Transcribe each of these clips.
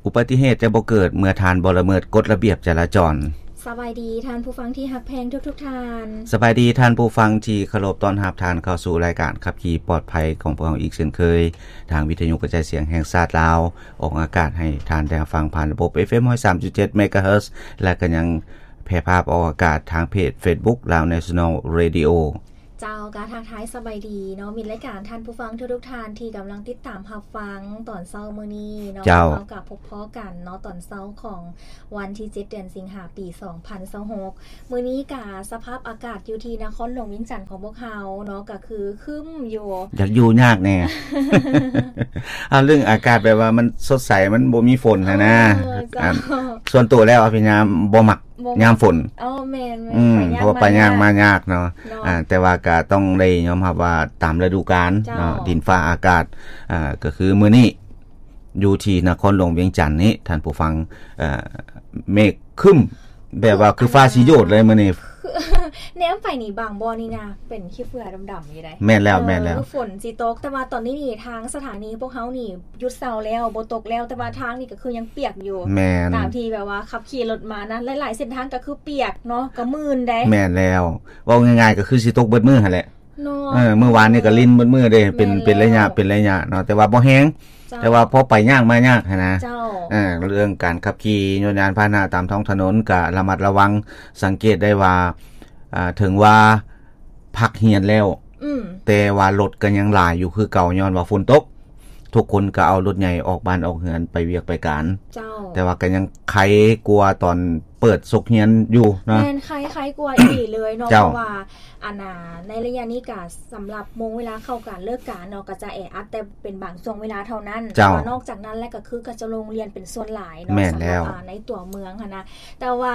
ອຸບັດຕິເຫດຈະບໍ່ເກີດເມື່ອທ່ານບໍ່ລະເມີດກົດລະບຽບຈະລາຈອນ. ສະບາຍດີທ່ານຜູ້ຟັງທີ່ຮັກແພງທຸກໆທ່ານ. ສະບາຍດີທ່ານຜູ້ຟັງທີ່ເຄົາລົບ, ຕ້ອນຮັບທ່ານເຂົ້າສູ່ລາຍການຂັບຂີ່ປອດໄພຂອງພວກເຮົາອີກເຊັ່ນເຄີຍ, ທາງວິທະຍຸກະຈາຍສຽງແຫ່ງຊາດລາວ ອອກອາກາດໃຫ້ທ່ານໄດ້ຮັບຟັງຜ່ານລະບົບ ເອັຟເອັມ ຮ້ອຍສາມຈຸດເຈັດ ເມກາເຮີດ ແລະ ກໍຍັງແຜ່ພາບອອກອາກາດທາງເພຈເຟສບຸກ Lao National Radio. ເຈົ້າ ກະທັກທາຍສະບາຍດີເນາະ ມິດລາຍການ, ທ່ານຜູ້ຟັງທຸກໆທ່ານທີ່ກຳລັງຕິດຕາມຮັບຟັງຕອນເຊົ້າມື້ນີ້ເນາະ. ເຈົ້າ ເຮົາກະພົບພໍ້ກັນເນາະ ຕອນເຊົ້າຂອງວັນທີເຈັດ ເດືອນສິງຫາ ປີສອງພັນຊາວຫົກ. ມື້ນີ້ກະສະພາບອາກາດຢູ່ທີ່ນະຄອນຫຼວງວຽງຈັນຂອງພວກເຮົາເນາະ ກະຄືຄຶ້ມຢູ່ ຢາກຢູ່ຍາກແດ່. ເອົາ ເລື່ອງອາກາດແບບວ່າມັນສົດໃສ ມັນບໍ່ມີຝົນຫັ້ນນະ. ເອີ ເຈົ້າ ອັນ ສ່ວນຕົວແລ້ວອະພິນຍາບໍ່ມັກ ບໍ່ ຍາມຝົນ. ອໍ ແມ່ນໆ ອືມ ໄປຍາກ ເພາະວ່າໄປຍາກມາຍາກເນາະ. ເນາະ ອ່າ ແຕ່ວ່າກະຕ້ອງໄດ້ຍອມຮັບວ່າຕາມລະດູການເນາະ ເຈົ້າ ດິນຟ້າອາກາດ. ອ່າ ກະຄືມື້ນີ້ຢູ່ທີ່ນະຄອນຫຼວງວຽງຈັນນີ້ ທ່ານຜູ້ຟັງ ເອີ ເມກຄຶ້ມ ແບບວ່າຄືຟ້າຊິໂຍດເລີຍມື້ນີ້. ແນມໄປນີ້ບາງບ່ອນນີ້ນະ ເປັນຂີ້ເຝື້ອດຳໆຢູ່ໃດ. ແມ່ນແລ້ວ ເອີ ແມ່ນແລ້ວ ຝົນຊິຕົກ, ແຕ່ວ່າຕອນນີ້ນີ້ທາງສະຖານີພວກເຮົານີ້ຢຸດເຊົາແລ້ວ ບໍ່ຕົກແລ້ວ, ແຕ່ວ່າທາງນີ້ກໍຄືຍັງປຽກຢູ່. ແມ່ນ ຕາມທີ່ແບບວ່າຂັບຂີ່ລົດມານະ ຫຼາຍໆເສັ້ນທາງກໍຄືປຽກເນາະ ກໍມື່ນໃດ. ແມ່ນແລ້ວ ເວົ້າງ່າຍໆກໍຄືຊິຕົກເບິດມື້ຫັ້ນແຫຼະເນາະ. ເອີ ມື້ວານນີ້ກໍລິນເບິດມື້ເດ້ ເປັນ ແມ່ນແລ້ວ ເປັນໄລຍະ ເປັນໄລຍະເນາະ ແຕ່ວ່າບໍ່ແຮງ. ເຈົ້າ ແຕ່ວ່າພໍໄປຍາກມາຍາກຫັ້ນນະ. ເຈົ້າ ເອີ ເລື່ອງການຂັບຂີ່ຍົນຍານພາຫະນະຕາມທ້ອງຖະໜົນກະລະມັດລະວັງ. ສັງເກດໄດ້ວ່າ ອ່າ ເຖິງວ່າພັກຮຽນແລ້ວ ອືມ ແຕ່ວ່າລົດກໍຍັງຫຼາຍຢູ່ຄືເກົ່າ ຍ້ອນວ່າຝົນຕົກ. ທຸກຄົນກໍເອົາລົດໃຫຍ່ອອກບ້ານອອກເຮືອນໄປວຽກໄປການ. ເຈົ້າ ແຕ່ວ່າກໍຍັງໄຄກວ່າຕອນເປີດສົກຮຽນຢູ່ເນາະ. ແມ່ນ ໄຄ ໄຄກວ່າອີ່ຫຼີເລີຍເນາະ. ເຈົ້າ ເພາະວ່າ ອັນນ່າ ໃນໄລຍະນີ້ກະສຳລັບໂມງເວລາເຂົ້າການເລີກການເນາະ ກໍຈະແອອັດແຕ່ເປັນບາງຊ່ວງເວລາເທົ່ານັ້ນ. ເຈົ້າ ແຕ່ວ່ານອກຈາກນັ້ນແລ້ວກໍຄືກໍຈະລົງຮຽນເປັນສ່ວນຫຼາຍເນາະ. ແມ່ນແລ້ວ ສຳລັບ ອ່າ ໃນຕົວເມືອງຫັ້ນນະ. ແຕ່ວ່າ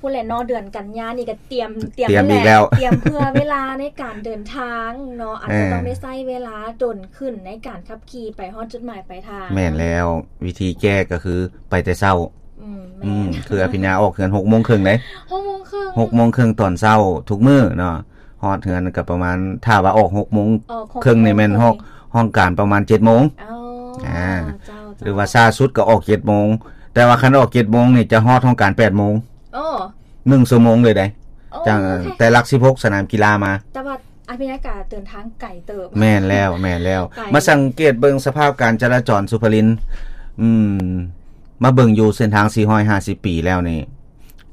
ພຸ້ນແຫຼະເນາະ ເດືອນກັນຍານີ້ກໍຕຽມ ຕຽມ ຕຽມອີກແລ້ວ ຕຽມເພື່ອເວລາໃນການເດີນທາງເນາະ. ເອີ ອາດຈະຕ້ອງໄດ້ໃຊ້ເວລາດົນຂຶ້ນໃນການຂັບຂີ່ໄປຮອດຈຸດໝາຍປາຍທາງ. ແມ່ນແລ້ວ ວິທີແກ້ກໍຄືໄປແຕ່ເຊົ້າ. ອືມ ອືມ ແມ່ນ ຄືອະພິນຍາອອກເຮືອນຫົກໂມງເຄິ່ງເດ້. ຫົກໂມງເຄິ່ງ ຫົກໂມງເຄິ່ງຕອນເຊົ້າທຸກມື້ເນາະ. ຮອດເຮືອນກໍປະມານ ຖ້າວ່າອອກຫົກໂມງເຄິ່ງນີ້ແມ່ນຮອດຫ້ອງການປະມານເຈັດໂມງ. ອໍ ອ່າ ເຈົ້າ ເຈົ້າ ຫຼືວ່າຊ້າສຸດກໍອອກເຈັດໂມງ. ແຕ່ວ່າຄັນອອກເຈັດໂມງນີ້ຈະຮອດຫ້ອງການແປດໂມງ. ໂອ້ ໜຶ່ງຊົ່ວໂມງເລີຍໃດ໋. ອໍ ຈາກ ໂອເຄ ແຕ່ຫຼັກສິບຫົກສະໜາມກິລາມາ. ແຕ່ວ່າອະພິນຍາກາເດີນທາງໄກເຕີບ. ແມ່ນແລ້ວ ແມ່ນແລ້ວ ໄກ ມາສັງເກດເບິ່ງສະພາບການຈະລາຈອນ ສຸພະລິນ ອືມ ມາເບິ່ງຢູ່ເສັ້ນທາງສີ່ຮ້ອຍຫ້າສິບປີແລ້ວນີ້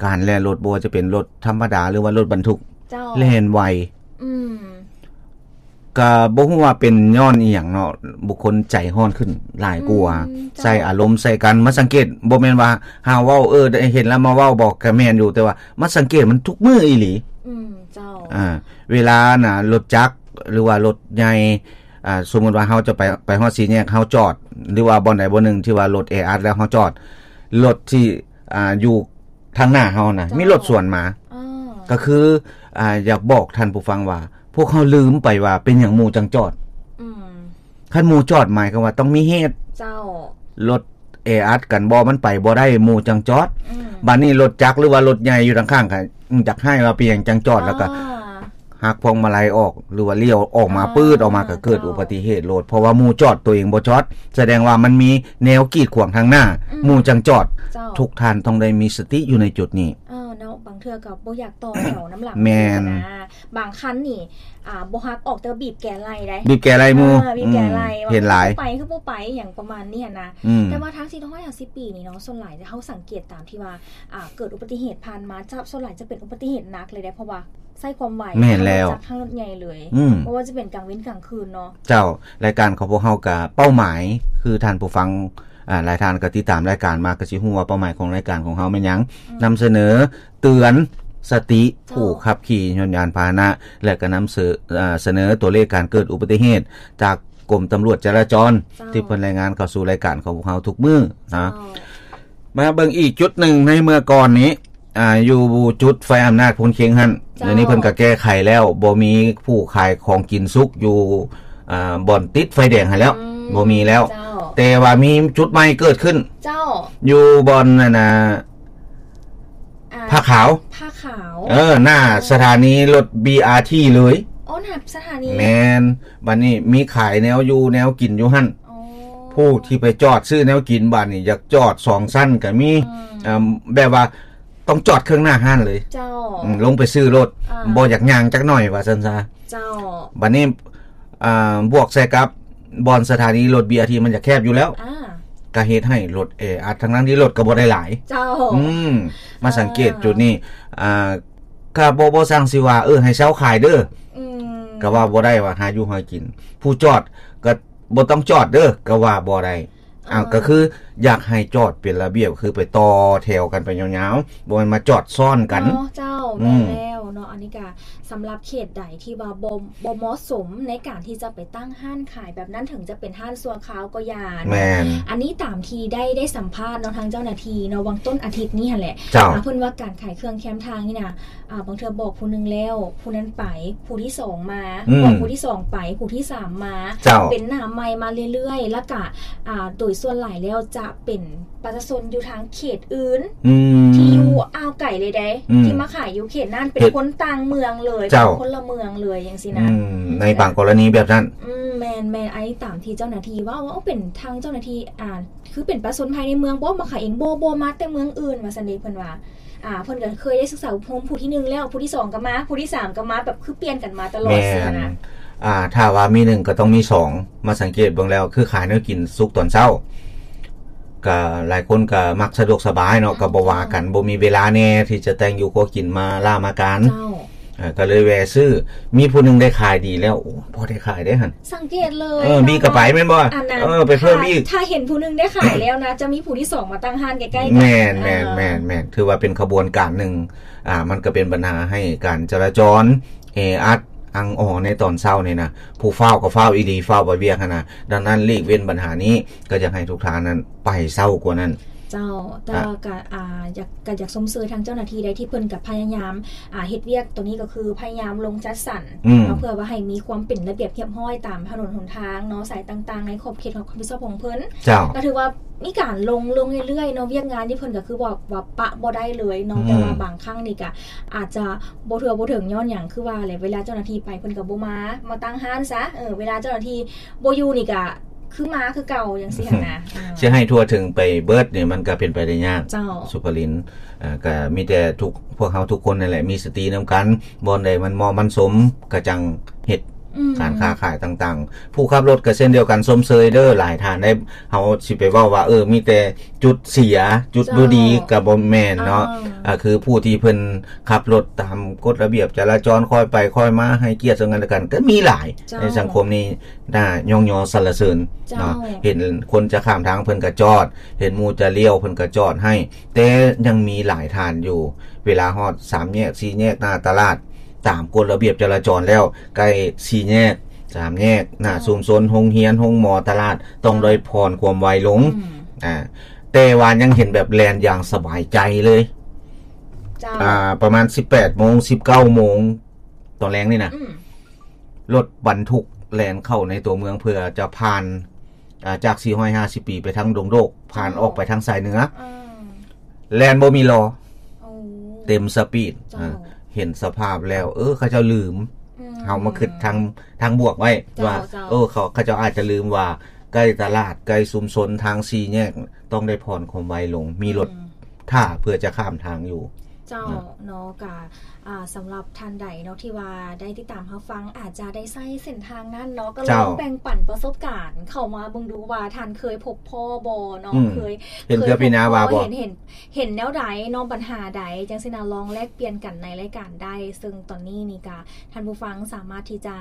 ການແລ່ນລົດ ບໍ່ວ່າຈະເປັນລົດທຳມະດາ ຫຼືວ່າລົດບັນທຸກ ເຈົ້າ ແລ່ນໄວ. ອືມ ກະບໍ່ຮູ້ວ່າເປັນຍ້ອນອີ່ຫຍັງເນາະ ບຸກຄົນໃຈຮ້ອນຂຶ້ນຫຼາຍກວ່າ. ອືມ ເຈົ້າ ໃສ່ອາລົມໃສ່ກັນ. ມາສັງເກດ ບໍ່ແມ່ນວ່າເຮົາເວົ້າ ເອີ ໄດ້ເຫັນແລ້ວມາເວົ້າບໍ ກະແມ່ນຢູ່ ແຕ່ວ່າມາສັງເກດມັນທຸກມື້ອີ່ຫຼີ. ອືມ ເຈົ້າ ອ່າ ເວລານະ ລົດຈັກ ຫຼືວ່າລົດໃຫຍ່ ອ່າ ສົມມຸດວ່າເຮົາຈະໄປ ໄປຮອດສີ່ແຍກ ເຮົາຈອດ ຫຼືວ່າບ່ອນໃດບ່ອນໜຶ່ງທີ່ວ່າລົດແອອັດແລ້ວເຮົາຈອດ ລົດທີ່ ອ່າ ຢູ່ທາງໜ້າເຮົານະ ເຈົ້າ ມີລົດສວນມາ ອໍ ກໍຄື ອ່າ ຢາກບອກທ່ານຜູ້ຟັງວ່າ ພວກເຮົາລືມໄປວ່າເປັນຫຍັງໝູ່ຈັ່ງຈອດ. ອືມ ຄັນໝູ່ຈອດໝາຍຄວາມວ່າຕ້ອງມີເຫດ. ເຈົ້າ ລົດແອອັດກັນບໍ່ ມັນໄປບໍ່ໄດ້ ໝູ່ຈັ່ງຈອດ. ອືມ ບາດນີ້ລົດຈັກ ຫຼືວ່າລົດໃຫຍ່ຢູ່ທາງຂ້າງ ກໍຢາກຮ້າຍວ່າເປັນຫຍັງຈັ່ງຈອດ ແລ້ວກໍ ອ່າ ຫັກພວງມາໄລອອກ ຫຼືວ່າລ້ຽວອອກມາ ອໍ ປຶດອອກມາ ກໍເກີດອຸບັດຕິເຫດໂລດ ເພາະວ່າໝູ່ຈອດ ຕົວເອງບໍ່ຈອດ ສະແດງວ່າມັນມີແນວກີດຂວາງທາງໜ້າ ອືມ ໝູ່ຈັ່ງຈອດ. ເຈົ້າ ທຸກທ່ານຕ້ອງໄດ້ມີສະຕິຢູ່ໃນຈຸດນີ້. ເອີ ເນາະ ບາງເທື່ອກໍບໍ່ຢາກຕໍ່ແຖວນຳຫຼັງ. ແມ່ນ ບາງຄັນນີ້ ອ່າ ບໍ່ຮັກອອກ ແຕ່ວ່າບີບແກໄລ່ໄດ໋ ບີບແກໄລ່ໝູ່. ເອີ ບີບແກໄລ່ ອືມ ວ່າ ເຫັນຫຼາຍ ຄືບໍ່ໄປ ຄືບໍ່ໄປ ຫຍັງປະມານນີ້ຫັ້ນນະ. ອືມ ແຕ່ວ່າທາງສີ່ຮ້ອຍຫ້າສິບປີນີ້ເນາະ ສ່ວນຫຼາຍເຮົາສັງເກດຕາມທີ່ວ່າ ອ່າ ເກີດອຸບັດຕິເຫດຜ່ານມາ ຈະ ສ່ວນຫຼາຍຈະເປັນອຸບັດຕິເຫດໜັກເລີຍເດ້ ເພາະວ່າໃຊ້ຄວາມໄວ. ແມ່ນແລ້ວ ທັງລົດຈັກ ທັງລົດໃຫຍ່ເລີຍ. ອືມ ບໍ່ວ່າຈະເປັນກາງເວັນກາງຄືນເນາະ. ເຈົ້າ ລາຍການຂອງພວກເຮົາກະເປົ້າໝາຍ ຄືທ່ານຜູ້ຟັງ ອ່າ ຫຼາຍທ່ານກໍຕິດຕາມລາຍການມາ ກໍຊິຮູ້ວ່າເປົ້າໝາຍຂອງລາຍການຂອງເຮົາແມ່ນຫຍັງ. ອືມ ນຳສະເໜີ ເຕືອນສະຕິ ເຈົ້າ ຜູ້ຂັບຂີ່ຍົນຍານພາຫະນະ ແລະ ກໍນຳເສີ ເອີ ສະເໜີຕົວເລກການເກີດອຸບັດຕິເຫດຈາກກົມຕຳຫຼວດຈະລາຈອນ ເຈົ້າ ທີ່ເພິ່ນລາຍງານເຂົ້າສູ່ລາຍການຂອງພວກເຮົາທຸກມື້ນະ. ເຈົ້າ ມາເບິ່ງອີກຈຸດໜຶ່ງໃນເມື່ອກ່ອນນີ້ ອ່າ ຢູ່ຈຸດໄຟອຳນາດໂພນເຄັງຫັ້ນ. ເຈົ້າ ດຽວນີ້ເພິ່ນກໍແກ້ໄຂແລ້ວ ບໍ່ມີຜູ້ຂາຍຂອງກິນສຸກຢູ່ ອ່າ ບ່ອນຕິດໄຟແດງຫັ້ນແລ້ວ. ອືມ ບໍ່ມີແລ້ວ. ເຈົ້າ ແຕ່ວ່າມີຈຸດໃໝ່ເກີດຂຶ້ນ. ເຈົ້າ ຢູ່ບ່ອນນັ້ນນະ ອ່າ ຜ້າຂາວ ຜ້າຂາວ ເອີ ໜ້າສະຖານີລົດ ບີອາທີ ເລີຍ. ອໍ ໜ້າສະຖານີ. ແມ່ນ ບັດນີ້ມີຂາຍແນວຢູ່ແນວກິນຢູ່ຫັ້ນ. ອໍ ຜູ້ທີ່ໄປຈອດຊື້ແນວກິນບາດນີ້ຢາກຈອດສອງຊັ້ນກໍມີ ອືມ ເອີ່ມ ແບບວ່າຕ້ອງຈອດເຄິ່ງໜ້າຮ້ານເລີຍ ເຈົ້າ ອືມ ລົງໄປຊື້ໂລດ ອ່າ ບໍ່ຢາກຍ່າງຈັກໜ້ອຍວ່າຊັ້ນຊະ ເຈົ້າ ບາດນີ້ ອ່າ ບວກໃສ່ກັບບ່ອນສະຖານີລົດ ບີອາທີ ມັນຈະແຄບຢູ່ແລ້ວ ອ່າ ກໍເຮັດໃຫ້ລົດແອອັດ ທັງໆທີ່ລົດກໍບໍ່ໄດ້ຫຼາຍ ເຈົ້າ ອືມ ມາສັງເກດ ອ່າ ຈຸດນີ້ ອ່າ ກໍບໍ່ ບໍ່ຊ່າງຊິວ່າ ເອີ ໃຫ້ເຊົາຂາຍເດີ ອືມ ກໍວ່າບໍ່ໄດ້ວ່າຫາຢູ່ຫາກິນ ຜູ້ຈອດກໍບໍ່ຕ້ອງຈອດເດີ ກໍວ່າບໍ່ໄດ້ ອ່າ ອ່າ ກໍຄືຢາກໃຫ້ຈອດເປັນລະບຽບ ຄືໄປຕໍ່ແຖວກັນໄປຍາວໆ ບໍ່ແມ່ນມາຈອດຊ້ອນກັນເນາະ ເຈົ້າ ອືມ ແມ່ນແລ້ວເນາະ ອັນນີ້ກະສຳລັບເຂດໃດທີ່ວ່າບໍ່ ບໍ່ເໝາະສົມໃນການທີ່ຈະໄປຕັ້ງຮ້ານຂາຍແບບນັ້ນ ເຖິງຈະເປັນຮ້ານຊົ່ວຄາວກໍຢ່າເນາະ ແມ່ນ ອັນນີ້ຕາມທີ່ໄດ້ ໄດ້ສຳພາດເນາະ ທາງເຈົ້າໜ້າທີ່ເນາະ ຫວ່າງຕົ້ນອາທິດນີ້ຫັ້ນແຫຼະ ເຈົ້າ ອ່າ ເພິ່ນວ່າການຂາຍເຄື່ອງແຄມທາງນີ້ນະ ອ່າ ບາງເທື່ອບອກຜູ້ໜຶ່ງແລ້ວ ຜູ້ນັ້ນໄປ ຜູ້ທີສອງມາ ອືມ ບອກຜູ້ທີສອງໄປ ຜູ້ທີສາມມາ ເຈົ້າ ເປັນໜ້າໃໝ່ມາເລື້ອຍໆ ແລ້ວກະ ອ່າ ໂດຍສ່ວນຫຼາຍແລ້ວຈະເປັນປະຊາຊົນຢູ່ທາງເຂດອື່ນ ອືມ ທີ່ຢູ່ອ່າວໄກເລີຍເດ້ ອືມ ທີ່ມາຂາຍຢູ່ເຂດນັ້ນ ເປັນຄົນຕ່າງເມືອງເລີຍ ເຈົ້າ ເປັນຄົນລະເມືອງເລີຍ ຈັ່ງຊີ້ນະ ອືມ ໃນບາງກໍລະນີແບບນັ້ນ ອືມ ແມ່ນໆ ອັນນີ້ຕາມທີ່ເຈົ້າໜ້າທີ່ເວົ້າ ວ່າເປັນທາງເຈົ້າໜ້າທີ່ ອ່າ ຄືເປັນປະຊາຊົນພາຍໃນເມືອງບໍ່ ມາຂາຍເອງ ບໍ່ ບໍ່ ມາແຕ່ເມືອງອື່ນ ວ່າຊັ້ນເດ ເພິ່ນວ່າ ອ່າ ເພິ່ນກໍເຄີຍໄດ້ສຶກສາອົບຮົມຜູ້ທີໜຶ່ງແລ້ວ ຜູ້ທີສອງກໍມາ ຜູ້ທີສາມກໍມາ ແບບຄືປ່ຽນກັນມາຕະຫຼອດ ແມ່ນ ຊີ້ນະ ອ່າ ຖ້າວ່າມີໜຶ່ງກໍຕ້ອງມີສອງ ມາສັງເກດເບິ່ງແລ້ວ ຄືຂາຍແນວກິນສຸກຕອນເຊົ້າ ກໍຫຼາຍຄົນກໍມັກສະດວກສະບາຍເນາະ ກໍບໍ່ວ່າກັນ ບໍ່ມີເວລາແດ່ທີ່ຈະແຕ່ງຢູ່ຄົວກິນມາລາມາການ ເຈົ້າ ເອີ ກໍເລີຍແວ່ຊື້ ມີຜູ້ໜຶ່ງໄດ້ຂາຍດີແລ້ວ ໂອ້ ພໍໄດ້ຂາຍເດ້ຫັ້ນ ສັງເກດເລີຍ ເອີ ມີກໍໄປແມ່ນບໍ່ ອັນນັ້ນ ເອີ ໄປເພີ່ມອີກ ຖ້າ ຖ້າເຫັນຜູ້ໜຶ່ງໄດ້ຂາຍແລ້ວນະ ຈະມີຜູ້ທີສອງມາຕັ້ງຮ້ານໃກ້ໆກັນ ແມ່ນໆ ອ່າ ແມ່ນໆ ຖືວ່າເປັນຂະບວນການໜຶ່ງ ອ່າ ມັນກໍເປັນບັນຫາໃຫ້ການຈະລາຈອນແອອັດອັ່ງອໍໃນຕອນເຊົ້ານີ້ນະ ຜູ້ຟ້າວກໍຟ້າວອີ່ຫຼີ ຟ້າວໄປວຽກຫັ້ນນະ ດັ່ງນັ້ນຫຼີກເວັ້ນບັນຫານີ້ ກໍຢາກໃຫ້ທຸກທ່ານນັ້ນໄປເຊົ້າກວ່ານັ້ນ ເຈົ້າ ແຕ່ວ່າ ອ່າ ກໍ ອ່າ ຢາກ ກໍຢາກຊົມເຊີຍທາງເຈົ້າໜ້າທີ່ໄດ້ ທີ່ເພິ່ນກໍພະຍາຍາມ ອ່າ ເຮັດວຽກໂຕນີ້ກໍຄືພະຍາຍາມລົງຈັດສັນ ອືມ ເນາະ ເພື່ອວ່າໃຫ້ມີຄວາມເປັນລະບຽບຮຽບຮ້ອຍຕາມຖະໜົນຫົນທາງເນາະ ສາຍຕ່າງໆ ໃນຂອບເຂດຂອງຮັບຜິດຊອບຂອງເພິ່ນ ເຈົ້າ ກໍຖືວ່າມີການລົງ ລົງເລື້ອຍໆ ເນາະ ວຽກງານທີ່ເພິ່ນກໍຄືວ່າ ວ່າປະບໍ່ໄດ້ເລີຍເນາະ ອືມ ແຕ່ວ່າບາງຄັ້ງນີ້ກໍອາດຈະບໍ່ທົ່ວບໍ່ເຖິງ ຍ້ອນຫຍັງ ຄືວ່າແຫຼະ ເວລາເຈົ້າໜ້າທີ່ໄປເພິ່ນກໍບໍ່ມາ ມາຕັ້ງຮ້ານຊະ ເອີ ເວລາເຈົ້າໜ້າທີ່ບໍ່ຢູ່ນີ້ກໍ ຄືມາຄືເກົ່າຈັ່ງຊີ້ຫັ້ນນະ ອ່າ ຊິໃຫ້ທົ່ວເຖິງໄປເບິດນີ້ ມັນກໍເປັນໄປໄດ້ຍາກ ເຈົ້າ ສຸພະລິນ ເອີ ກໍມີແຕ່ທຸກ ພວກເຮົາທຸກຄົນນັ້ນແຫຼະ ມີສະຕິນຳກັນ ບ່ອນໃດມັນເໝາະມັນສົມ ກໍຈັ່ງເຮັດ ອືມ ການຄ້າຂາຍຕ່າງໆ ຜູ້ຂັບລົດກໍເຊັ່ນດຽວກັນ ຊົມເຊີຍເດີ ຫຼາຍທ່ານໄດ້ ເຮົາຊິໄປເວົ້າວ່າ ເອີ ມີແຕ່ຈຸດເສຍ ຈຸດ ເຈົ້າ ບໍ່ດີ ກໍບໍ່ແມ່ນເນາະ ອ່າ ອ່າ ຄືຜູ້ທີ່ເພິ່ນຂັບລົດຕາມກົດລະບຽບຈະລາຈອນ ຄ່ອຍໄປຄ່ອຍມາ ໃຫ້ກຽດເຊິ່ງກັນແລະກັນ ກໍມີຫຼາຍ ເຈົ້າ ໃນສັງຄົມນີ້ ໜ້າຍ້ອງຍໍສັນລະເສີນ ເຈົ້າ ເນາະ ເຫັນຄົນຈະຂ້າມທາງເພິ່ນກໍຈອດ ເຫັນໝູ່ຈະລ້ຽວເພິ່ນກໍຈອດໃຫ້ ແຕ່ຍັງມີຫຼາຍທ່ານຢູ່ ເວລາຮອດສາມແຍກ ສີ່ແຍກ ໜ້າຕະຫຼາດ ຕາມກົດລະບຽບຈະລາຈອນແລ້ວ ໃກ້ສີ່ແຍກ ສາມແຍກ ໜ້າ ເຈົ້າ ຊຸມຊົນ ໂຮງຮຽນ ໂຮງໝໍ ຕະຫຼາດ ຕ້ອງ ເຈົ້າ ໄດ້ຜ່ອນຄວາມໄວລົງ ອືມ ອ່າ ແຕ່ວ່າຍັງເຫັນແບບແລ່ນຢ່າງສະບາຍໃຈເລີຍ ເຈົ້າ ອ່າ ປະມານສິບແປດໂມງ ສິບເກົ້າໂມງ ຕອນແລງນີ້ນະ ອືມ ລົດບັນທຸກແລ່ນເຂົ້າໃນຕົວເມືອງເພື່ອຈະຜ່ານ ອ່າ ຈາກສີ່ຮ້ອຍຫ້າສິບປີໄປທາງດົງໂດກ ຜ່ານ ເຈົ້າ ອອກໄປທາງສາຍເໜືອ ອ່າ ແລ່ນບໍ່ມີລໍ ໂອ້ ເຕັມສະປີດ ເຈົ້າ ອ່າ ເຫັນສະພາບແລ້ວ ເອີ ເຂົາເຈົ້າລືມ ອືມ ເຮົາມາຄິດທາງ ທາງບວກໄວ້ ເຈົ້າ ວ່າ ເຈົ້າ ເອີ ເຂົາ ເຂົາເຈົ້າອາດຈະລືມວ່າ ໃກ້ຕະຫຼາດ ໃກ້ຊຸມຊົນ ທາງສີ່ແຍກ ຕ້ອງໄດ້ຜ່ອນຄວາມໄວລົງ ມີລົດ ອືມ ຖ້າເພື່ອຈະຂ້າມທາງຢູ່ ເຈົ້າ ເນາະ ເນາະ ກະ ອ່າ ສຳລັບທ່ານໃດເນາະ ທີ່ວ່າໄດ້ຕິດຕາມຮັບຟັງ ອາດຈະໄດ້ໃຊ້ເສັ້ນທາງນັ້ນເນາະ ກໍລອງ ເຈົ້າ ແບ່ງປັນປະສົບການເຂົ້າມາເບິ່ງດູວ່າ ທ່ານເຄີຍພົບພໍ້ບໍ່ເນາະ ອືມ ເຄີຍ ເຫັນເທື່ອປີໜ້າວ່າບໍ່ ເຄີຍພົບພໍ້ ເຫັນ ເຫັນ ເຫັນແນວໃດເນາະ ບັນຫາໃດ ຈັ່ງຊີ້ນະ ລອງແລກປ່ຽນກັນໃນລາຍການໄດ້ ເຊິ່ງຕອນນີ້ນີ້ກະ ທ່ານຜູ້ຟັງສາມາດທີ່ຈະ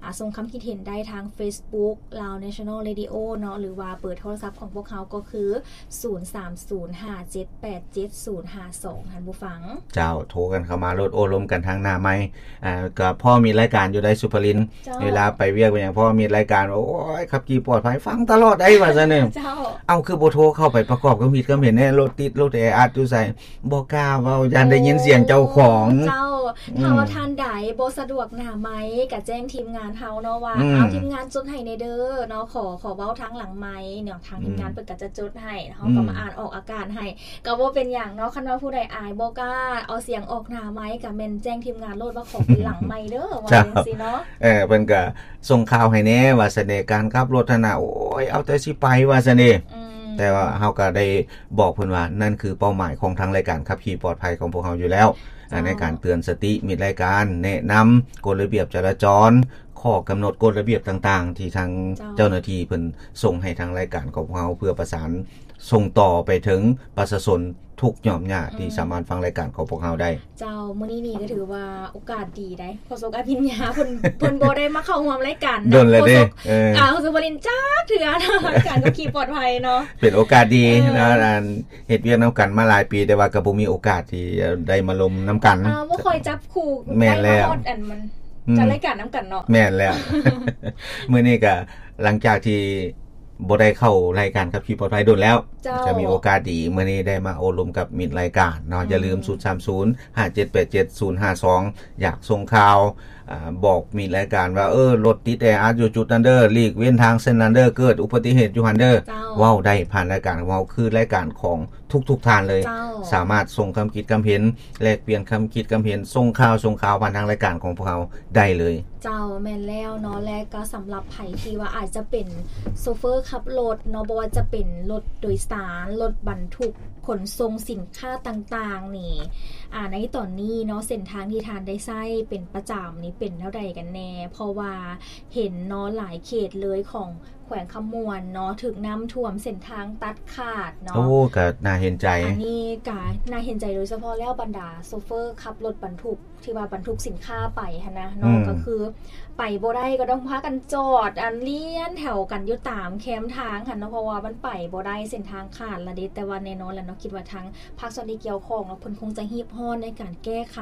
ອ່າ ສົ່ງຄຳຄິດເຫັນໄດ້ທາງ Facebook Lao National Radio ເນາະ ຫຼືວ່າເບີໂທລະສັບຂອງພວກເຮົາກໍຄື ສູນສາມສູນຫ້າເຈັດແປດເຈັດສູນຫ້າສອງ ທ່ານຜູ້ຟັງ ເຈົ້າ ໂທກັນເຂົ້າມາໂລດ ໂອ້ລົມກັນທາງໜ້າໄມ ອ່າ ກໍພໍມີລາຍການຢູ່ໃດ ສຸພະລິນ ເຈົ້າ ເວລາໄປວຽກໄປຫຍັງ ພໍມີລາຍການ ໂອ້ຍ ຂັບຂີ່ປອດໄພ ຟັງຕະຫຼອດໄດ໋ ວ່າຊັ້ນເນາະ ເຈົ້າ ເອົ້າ ຄືບໍ່ໂທເຂົ້າໄປປະກອບຄຳຄິດຄຳເຫັນແດ່ ລົດຕິດ ລົດແອອັດຢູ່ໃສ ບໍ່ກ້າເວົ້າ ຢ້ານໄດ້ຍິນສຽງເຈົ້າຂອງ ໂອ້ ເຈົ້າ ອືມ ຖ້າວ່າທ່ານໃດບໍ່ສະດວກໜ້າໄມ ກະແຈ້ງທີມງານເຮົາເນາະວ່າ ອືມ ເອົາ ທີມງານຈົດໃຫ້ແດ່ເດີເນາະ ຂໍ ຂໍເວົ້າທາງຫຼັງໄມເນາະ ທາງ ອືມ ທີມງານເພິ່ນກະຈະຈົດໃຫ້ ເຮົາ ອືມ ກໍມາອ່ານອອກອາການໃຫ້ ກໍບໍ່ເປັນຫຍັງເນາະ ຄັນວ່າຜູ້ໃດອາຍບໍ່ກ້າເອົາສຽງອອກໜ້າໄມ ກະແມ່ນແຈ້ງທີມງານໂລດວ່າຂໍເປັນຫຼັງໄມເດີ ວ່າ ເຈົ້າ ຈັ່ງຊີ້ເນາະ ເອີ ເພິ່ນກະສົ່ງຂ່າວໃຫ້ແດ່ ວ່າສະເໜ່ການຂັບລົດຫັ້ນນະ ໂອ້ ຂ້ອຍເອົາແຕ່ຊິໄປວ່າຊັ້ນເດ. ອືມ ແຕ່ວ່າເຮົາກໍໄດ້ບອກເພິ່ນວ່າ ນັ້ນຄືເປົ້າໝາຍຂອງທາງລາຍການຂັບຂີ່ປອດໄພຂອງພວກເຮົາຢູ່ແລ້ວ ເຈົ້າ ໃນການເຕືອນສະຕິມິດລາຍການ ແນະນຳກົດລະບຽບຈະລາຈອນ ຂໍ້ກຳນົດກົດລະບຽບຕ່າງໆ ທີ່ທາງ ເຈົ້າ ເຈົ້າໜ້າທີ່ເພິ່ນສົ່ງໃຫ້ທາງລາຍການຂອງພວກເຮົາ ເພື່ອປະສານສົ່ງຕໍ່ໄປເຖິງປະຊາຊົນທຸກຫຍ່ອມຫຍ້າ ອືມ ທີ່ສາມາດຟັງລາຍການຂອງພວກເຮົາໄດ້. ເຈົ້າ ມື້ນີ້ນີ້ກໍຖືວ່າໂອກາດດີໄດ໋ ໂຄສົກອະພິນຍາເພິ່ນ ເພິ່ນບໍ່ໄດ້ມາເຂົ້າຮ່ວມລາຍການ ດົນແລ້ວເດ້ ໂຄສົກ ເອີ ອາ ໂຄສົກບໍລິນຈັກເທື່ອເນາະ ການຂັບຂີ່ປອດໄພເນາະ ເປັນໂອກາດດີ ເອີ ເນາະ ອັນເຮັດວຽກນຳກັນມາຫຼາຍປີ ແຕ່ວ່າກໍບໍ່ມີໂອກາດທີ່ໄດ້ມາລົມນຳກັນ ອາ ບໍ່ຄ່ອຍຈັບຄູ່ ແມ່ນແລ້ວ ໄດ້ມາຮອດອັນມັນ ອືມ ຈັດລາຍການນຳກັນເນາະ ແມ່ນແລ້ວ ມື້ນີ້ກໍຫຼັງຈາກທີ່ ບໍ່ໄດ້ເຂົ້າລາຍການຂັບຂີ່ປອດໄພດົນແລ້ວ ເຈົ້າ ຈະມີໂອກາດດີ ມື້ນີ້ໄດ້ມາໂອ້ລົມກັບມິດລາຍການເນາະ ເຈົ້າ ຢ່າລືມ ສູນສາມສູນ ຫ້າເຈັດແປດເຈັດ ສູນຫ້າສອງ ຢາກສົ່ງຂ່າວ ອາ ບອກມິດລາຍການວ່າ ເອີ ລົດຕິດແອອັດຢູ່ຈຸດນັ້ນເດີ ຫຼີກເວັ້ນທາງເສັ້ນນັ້ນເດີ ເກີດອຸບັດຕິເຫດຢູ່ຫັ້ນເດີ ເຈົ້າ ເວົ້າໄດ້ຜ່ານລາຍການຂອງເຮົາ ຄືລາຍການຂອງ ທຸກໆທ່ານເລີຍ ເຈົ້າ ສາມາດສົ່ງຄຳຄິດຄຳເຫັນ ແລກປ່ຽນຄຳຄິດຄຳເຫັນ ສົ່ງຂ່າວ ສົ່ງຂ່າວຜ່ານທາງລາຍການຂອງພວກເຮົາໄດ້ເລີຍ. ເຈົ້າ ແມ່ນແລ້ວເນາະ ແລະກໍສຳລັບໃຜທີ່ວ່າອາດຈະເປັນໂຊເຟີຂັບລົດເນາະ ບໍ່ວ່າຈະເປັນລົດໂດຍສານ ລົດບັນທຸກຂົນສົ່ງສິນຄ້າຕ່າງໆນີ້ ອາ ໃນຕອນນີ້ເນາະ ເສັ້ນທາງທີ່ທ່ານໄດ້ໃຊ້ເປັນປະຈຳນີ້ເປັນແນວໃດກັນແດ່? ເພາະວ່າເຫັນເນາະ ຫຼາຍເຂດເລີຍຂອງ ແຂວງຄຳມ່ວນເນາະ ຖືກນ້ຳຖ້ວມ ເສັ້ນທາງຕັດຂາດເນາະ ໂອ້ ກໍໜ້າເຫັນໃຈ ອັນນີ້ກໍໜ້າເຫັນໃຈ ໂດຍສະເພາະແລ້ວບັນດາໂຊເຟີຂັບລົດບັນທຸກ ທີ່ວ່າບັນທຸກສິນຄ້າໄປຫັ້ນນະເນາະ ອືມ ກໍຄືໄປບໍ່ໄດ້ ກໍຕ້ອງພາກັນຈອດ ອັນລຽນແຖວກັນຢູ່ຕາມແຄມທາງຫັ້ນເນາະ ເພາະວ່າມັນໄປບໍ່ໄດ້ ເສັ້ນທາງຂາດລະເດ. ແຕ່ວ່າແນ່ນອນແຫຼະເນາະ ຄິດວ່າທາງພາກສ່ວນທີ່ກ່ຽວຂ້ອງເນາະ ເພິ່ນຄົງຈະຮີບຮ້ອນໃນການແກ້ໄຂ.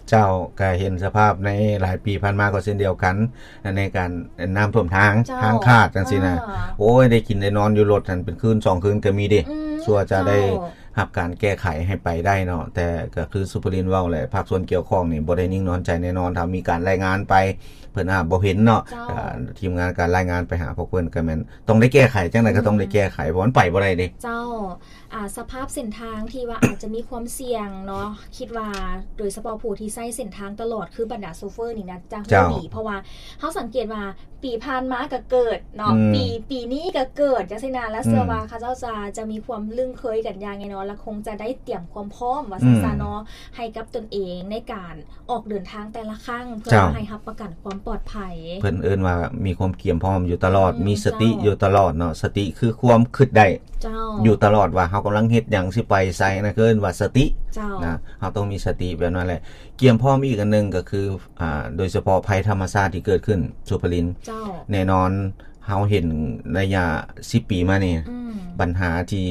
ເຈົ້າ ກໍເຫັນສະພາບໃນຫຼາຍປີຜ່ານມາກໍເຊັ່ນດຽວກັນ ໃນການນ້ຳຖ້ວມທາງ ເຈົ້າ ທາງຂາດຈັ່ງຊີ້ນະ ອ່າ ໂອ້ຍ ໄດ້ກິນໄດ້ນອນຢູ່ລົດຫັ້ນເປັນຄືນສອງຄືນກໍມີເດ ອືມ ຊົ່ວຈະໄດ້ ເຈົ້າ ຮັບການແກ້ໄຂໃຫ້ໄປໄດ້ເນາະ ແຕ່ກໍຄືສຸພະລິນເວົ້າແຫຼະ ພາກສ່ວນກ່ຽວຂ້ອງນີ້ບໍ່ໄດ້ນິ່ງນອນໃຈແນ່ນອນ ຖ້າມີການລາຍງານໄປ ເພິ່ນອາດບໍ່ເຫັນເນາະ ເຈົ້າ ອ່າ ທີມງານການລາຍງານໄປຫາພວກເພິ່ນ ກໍແມ່ນຕ້ອງໄດ້ແກ້ໄຂ ຈັ່ງໃດກໍຕ້ອງໄດ້ແກ້ໄຂ ອືມ ເພາະມັນໄປບໍ່ໄດ້ເດ ເຈົ້າ. ອ່າ ສະພາບເສັ້ນທາງທີ່ວ່າອາດຈະມີຄວາມສ່ຽງເນາະ ຄິດວ່າໂດຍສະເພາະຜູ້ທີ່ໃຊ້ເສັ້ນທາງຕະຫຼອດ ຄືບັນດາໂຊເຟີນີ້ນະ ຈະຮູ້ ເຈົ້າ ດີ ເພາະວ່າເຮົາສັງເກດວ່າປີຜ່ານມາກໍເກີດເນາະ ອືມ ປີ ປີນີ້ກໍເກີດ ຈັ່ງຊີ້ນະ ແລະ ອືມ ເຊື່ອວ່າເຂົາເຈົ້າຈະ ຈະມີຄວາມລຶ້ງເຄີຍກັນຢ່າງແນ່ນອນ ແລະ ຄົງຈະໄດ້ຕຽມຄວາມພ້ອມວ່າຊັ້ນຊະເນາະ ອືມ ໃຫ້ກັບຕົນເອງໃນການ ອອກເດີນທາງແຕ່ລະຄັ້ງ ເພື່ອ ເຈົ້າ ໃຫ້ຮັບປະກັນຄວາມປອດໄພ ເພິ່ນເອີ້ນວ່າມີຄວາມກຽມພ້ອມຢູ່ຕະຫຼອດ ອືມ ມີສະຕິ ເຈົ້າ ຢູ່ຕະຫຼອດເນາະ ສະຕິຄືຄວາມຄິດໄດ້ ເຈົ້າ ຢູ່ຕະຫຼອດວ່າເຮົາກຳລັງເຮັດຫຍັງ ຊິໄປໃສ ນັ້ນຄືເອີ້ນວ່າສະຕິ ເຈົ້າ ນະ ເຮົາຕ້ອງມີສະຕິແບບນັ້ນແຫຼະ ກຽມພ້ອມອີກອັນໜຶ່ງກໍຄື ອ່າ ໂດຍສະເພາະໄພທຳມະຊາດທີ່ເກີດຂຶ້ນ ສຸພະລິນ ເຈົ້າ ແນ່ນອນ ເຮົາເຫັນໄລຍະສິບປີມານີ້ ອືມ ບັນຫາທີ່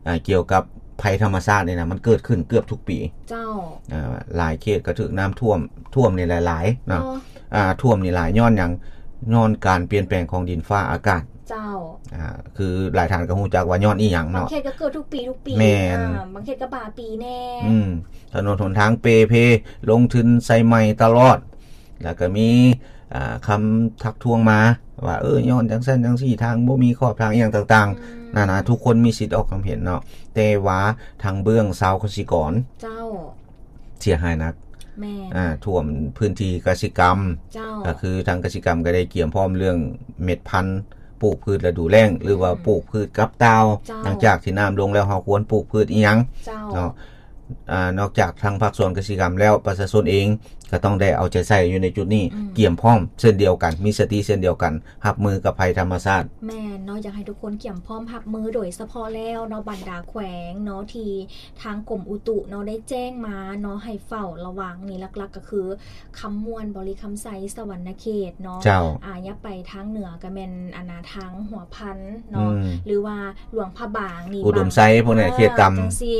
ອ່າ ກ່ຽວກັບໄພທຳມະຊາດນີ້ນະ ມັນເກີດຂຶ້ນເກືອບທຸກປີ ເຈົ້າ ອ່າ ຫຼາຍເຂດກໍຖືກນ້ຳຖ້ວມ ຖ້ວມນີ້ແຫຼະຫຼາຍເນາະ ເນາະ ອ່າ ຖ້ວມນີ້ຫຼາຍຍ້ອນຫຍັງ? ຍ້ອນການປ່ຽນແປງຂອງດິນຟ້າອາກາດ ເຈົ້າ ອ່າ ຄືຫຼາຍທ່ານກໍຮູ້ຈັກວ່າຍ້ອນອີ່ຫຍັງເນາະ ບາງເຂດກໍເກີດທຸກປີ ທຸກປີ ແມ່ນ ອ່າ ບາງເຂດກໍບາງປີແດ່ ອືມ ຖະໜົນຫົນທາງເປ່ເພ ລົງທຶນໃສ່ໃໝ່ຕະຫຼອດ ແລ້ວກໍມີ ອ່າ ຄຳທັກທ້ວງມາວ່າ ເອີ ຍ້ອນຈັ່ງຊັ້ນຈັ່ງຊີ້ ທາງບໍ່ມີຂອບທາງ ອີ່ຫຍັງຕ່າງໆ ອືມ ນານາ ທຸກຄົນມີສິດອອກຄຳເຫັນເນາະ ແຕ່ວ່າທາງເບື້ອງຊາວກະສິກອນ ເຈົ້າ ເສຍຫາຍໜັກ ແມ່ນ ອ່າ ຖ້ວມພື້ນທີ່ກະສິກຳ ເຈົ້າ ກໍຄືທາງກະສິກຳກໍໄດ້ກຽມພ້ອມເລື່ອງເມັດພັນປູກພືດລະດູແລ້ງ ຫຼືວ່າ ອືມ ປູກພືດກັບຕ່າວ ເຈົ້າ ຫຼັງຈາກທີ່ນ້ຳລົງແລ້ວ ເຮົາຄວນປູກພືດອີ່ຫຍັງ ເຈົ້າ ເນາະ ອ່າ ນອກຈາກທາງພາກສ່ວນກະສິກຳແລ້ວ ປະຊາຊົນເອງກໍຕ້ອງໄດ້ເອົາໃຈໃສ່ຢູ່ໃນຈຸດນີ້ ອືມ ກຽມພ້ອມເຊັ່ນດຽວກັນ ມີສະຕິເຊັ່ນດຽວກັນ ຮັບມືກັບໄພທຳມະຊາດ. ແມ່ນເນາະ ຢາກໃຫ້ທຸກຄົນກຽມພ້ອມຮັບມື ໂດຍສະເພາະແລ້ວເນາະ ບັນດາແຂວງເນາະ ທີ່ທາງກົມອຸຕຸເນາະ ໄດ້ແຈ້ງມາເນາະ ໃຫ້ເຝົ້າລະວັງນີ້ ຫຼັກໆກໍຄື ຄຳມ່ວນ ບໍລິຄຳໄຊ ສະຫວັນນະເຂດເນາະ ເຈົ້າ ອ່າ ຢ່າໄປທາງເໜືອກໍແມ່ນ ອັນນາ ທາງຫົວພັນເນາະ ອືມ ຫຼືວ່າຫຼວງພະບາງນີ້ ອຸດົມໄຊ ບາງ ພວກນີ້ ອ່າ ເຂດຕ່ຳ ຈັ່ງຊີ້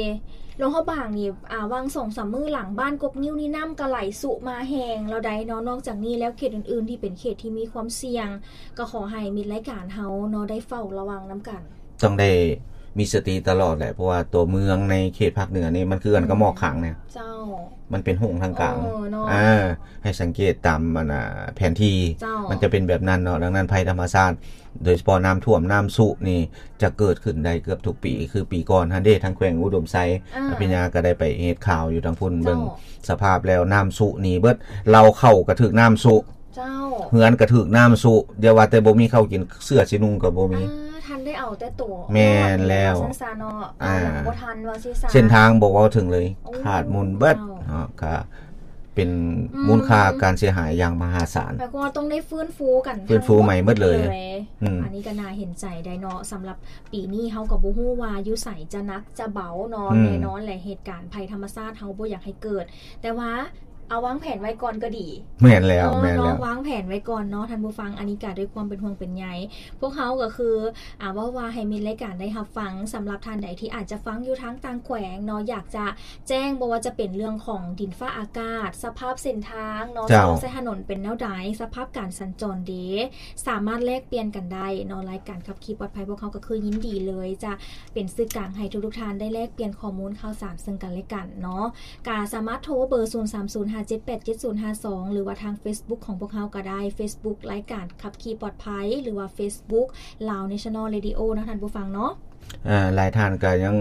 ຫຼວງພະບາງນີ້ ອ່າ ຫວ່າງສອງສາມມື້ຫຼັງ ບ້ານກົກງິ້ວນີ້ນ້ຳກໍໄຫຼຊຸມາແຮງແລ້ວໃດເນາະ ນອກຈາກນີ້ແລ້ວ ເຂດອື່ນໆທີ່ເປັນເຂດທີ່ມີຄວາມສ່ຽງ ກໍຂໍໃຫ້ມິດລາຍການເຮົາເນາະ ໄດ້ເຝົ້າລະວັງນຳກັນ. ຕ້ອງໄດ້ມີສະຕິຕະຫຼອດແຫຼະ ເພາະວ່າຕົວເມືອງໃນເຂດພາກເໜືອນີ້ ມັນຄືກັນກັບໝອກຄາງນີ້ ເຈົ້າ ມັນເປັນໂຮງທາງກາງ ເອີ ເນາະ ອ່າ ໃຫ້ສັງເກດຕາມ ອັນນາ ແຜນທີ່ ເຈົ້າ ມັນຈະເປັນແບບນັ້ນເນາະ. ດັ່ງນັ້ນ ໄພທຳມະຊາດ ໂດຍສະເພາະນ້ຳຖ້ວມ ນ້ຳຊຸນີ້ ຈະເກີດຂຶ້ນໄດ້ເກືອບທຸກປີ ຄືປີກ່ອນຫັ້ນເດ້ ທາງແຂວງອຸດົມໄຊ ອ່າ ອະພິນຍາກໍໄດ້ໄປເຮັດຂ່າວຢູ່ທາງພຸ້ນ ເຈົ້າ ເບິ່ງສະພາບແລ້ວ ນ້ຳຊຸໜີເບິດ ເລົ້າເຂົ້າກໍຖືກນ້ຳຊຸ ເຈົ້າ ເຮືອນກໍຖືກນ້ຳຊຸ ຢ່າວ່າແຕ່ບໍ່ມີເຂົ້າກິນ ເສື້ອຊິນຸ່ງກໍບໍ່ມີ. ອ່າ ທັນໄດ້ເອົາແຕ່ໂຕ ແມ່ນແລ້ວ ວ່າຊັ້ນຊະເນາະ ອ່າ ເອົາຫຍັງບໍ່ທັນວ່າຊີ້ຊະ. ເສັ້ນທາງບໍ່ເວົ້າເຖິງເລີຍ ໂອ້ ຂາດມູນເບິດ ເຈົ້າ ເນາະ ກໍເປັນ ອືມ ມູນຄ່າການເສຍຫາຍຢ່າງມະຫາສານ. ແປວ່າຕ້ອງໄດ້ຟື້ນຟູກັນ ຟື້ນຟູໃໝ່ໝົດເລີຍ ທັງໝົດເລີຍ. ອືມ ອັນນີ້ກໍໜ້າເຫັນໃຈໄດ້ເນາະ. ສຳລັບປີນີ້ເຮົາກໍບໍ່ຮູ້ວ່າຢູ່ໃສຈະໜັກຈະເບົາເນາະ. ອືມ ແນ່ນອນແຫຼະ ເຫດການໄພທຳມະຊາດເຮົາບໍ່ຢາກໃຫ້ເກີດ ແຕ່ວ່າ ເອົາວາງແຜນໄວ້ກ່ອນກໍດີ. ແມ່ນແລ້ວ ເນາະ ແມ່ນແລ້ວ ເນາະ ວາງແຜນໄວ້ກ່ອນເນາະທ່ານຜູ້ຟັງ. ອັນນີ້ກໍດ້ວຍຄວາມເປັນຫ່ວງເປັນໃຍ ພວກເຮົາກໍຄື ອ່າ ເວົ້າວ່າໃຫ້ມີລາຍການໄດ້ຮັບຟັງ. ສຳລັບທ່ານໃດທີ່ອາດຈະຟັງຢູ່ທາງຕ່າງແຂວງເນາະ ຢາກຈະແຈ້ງ ບໍ່ວ່າຈະເປັນເລື່ອງຂອງດິນຟ້າອາກາດ, ສະພາບເສັ້ນທາງເນາະ, ເຈົ້າ ສະພາບຖະໜົນເປັນແນວໃດ, ສະພາບການສັນຈອນເດ ສາມາດແລກປ່ຽນກັນໄດ້ເນາະ. ລາຍການຂັບຂີ່ປອດໄພພວກເຮົາກໍຄືຍິນດີເລີຍ ຈະເປັນສື່ກາງໃຫ້ທຸກໆທ່ານໄດ້ແລກປ່ຽນຂໍ້ມູນຂ່າວສານເຊິ່ງກັນແລະກັນເນາະ. ກະສາມາດໂທເບີ ສູນສາມສູນ ຫ້າເຈັດແປດ ເຈັດສູນຫ້າສອງ ຫຼືວ່າທາງເຟສບຸກຂອງພວກເຮົາກໍໄດ້ ເຟສບຸກລາຍການຂັບຂີ່ປອດໄພ ຫຼືວ່າເຟສບຸກ Lao National Radio ເນາະທ່ານຜູ້ຟັງເນາະ. ເອີ ຫຼາຍທ່ານກໍຍັງ